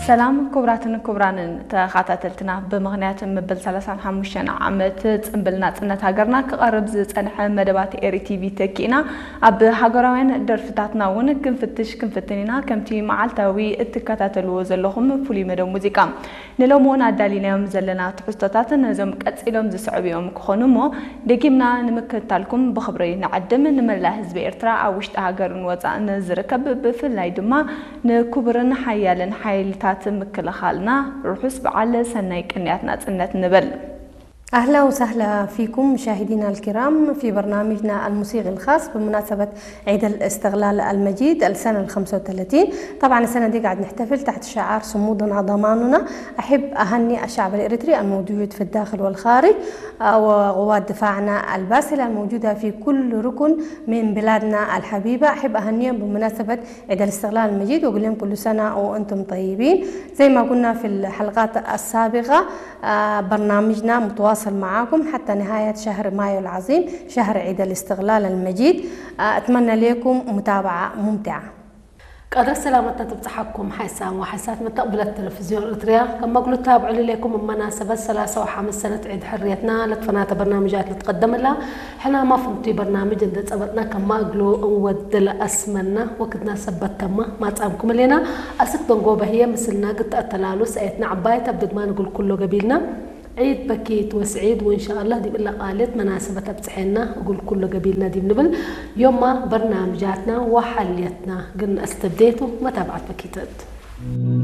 ሰላም ክቡራትን ክቡራንን ተኸታተልትና፣ ብምኽንያት ምብል ሰላሳን ሓሙሽተን ዓመት ጽንብል ናጽነት ሃገርና ክቐርብ ዝጸንሐ መደባት ኤሪ ቲቪ ተኪእና፣ ኣብ ሃገራውያን ደርፍታትና እውን ክንፍትሽ ክንፍትን ኢና። ከምቲ መዓልታዊ እትከታተልዎ ዘለኹም ፍሉይ መደብ ሙዚቃ፣ ንሎሚ እውን ኣዳሊናዮም ዘለና ትሕዝቶታት ነዞም ቀጺሎም ዝስዕቡ እዮም ክኾኑ እሞ፣ ደጊምና ንምክትታልኩም ብኽብሪ ንዕድም። ንመላእ ህዝቢ ኤርትራ ኣብ ውሽጢ ሃገርን ወጻእን ዝርከብ፣ ብፍላይ ድማ ንክቡርን ሓያልን ሓይልታት ምክልኻልና ርሑስ በዓል ሰናይ ቅንያት ናጽነት ንብል። أهلا وسهلا فيكم مشاهدينا الكرام في برنامجنا الموسيقي الخاص بمناسبة عيد الاستقلال المجيد السنة ال خمسة وثلاثين. طبعا السنة دي قاعد نحتفل تحت شعار صمودنا ضماننا. أحب أهني الشعب الإريتري الموجود في الداخل والخارج، آه، وقوات دفاعنا الباسلة الموجودة في كل ركن من بلادنا الحبيبة. أحب أهنيهم بمناسبة عيد الاستقلال المجيد وأقول لهم كل سنة وأنتم طيبين. زي ما قلنا في الحلقات السابقة، آه، برنامجنا متواصل معاكم حتى نهاية شهر مايو العظيم، شهر عيد الاستقلال المجيد. آه، أتمنى لكم متابعة ممتعة. ቀደር ሰላመትና ትብጽሓኩም ሓይሳን ወሓይሳት መተቕብለት ቴሌቪዝዮን ኤርትርያ። ከም መግሉት ታብዕሉ ኢለይኩም ብመናሰበት ሰላሳ ወሓምስ ሰነት ዒድ ሕርየትና ለትፈናተ በርናምጃት ልትቀደምላ ሕና ማፍንቲ በርናምጅ እንደ ጸበጥና ከማ እግሎ እንወድል ኣስመና ወክድና ሰበት ተማ ማጻምኩም ሌና። ኣስክ ደንጎ በህየ ምስልና ግትኣተላሉ ሰኤትና ዕባይት ኣብ ድግማ ንግል ኩሎ ገቢልና ዒድ በኪት ወስዒድ ወእንሻኣላህ ዲብ እለ ቃልት መናሰበት ኣብጽሐና እጉል ኩሎ ገቢልና ዲብ ንብል። ዮማ በርናምጃትና ወሓልየትና ግን ኣስተብዴቱ መታብዓት በኪተት።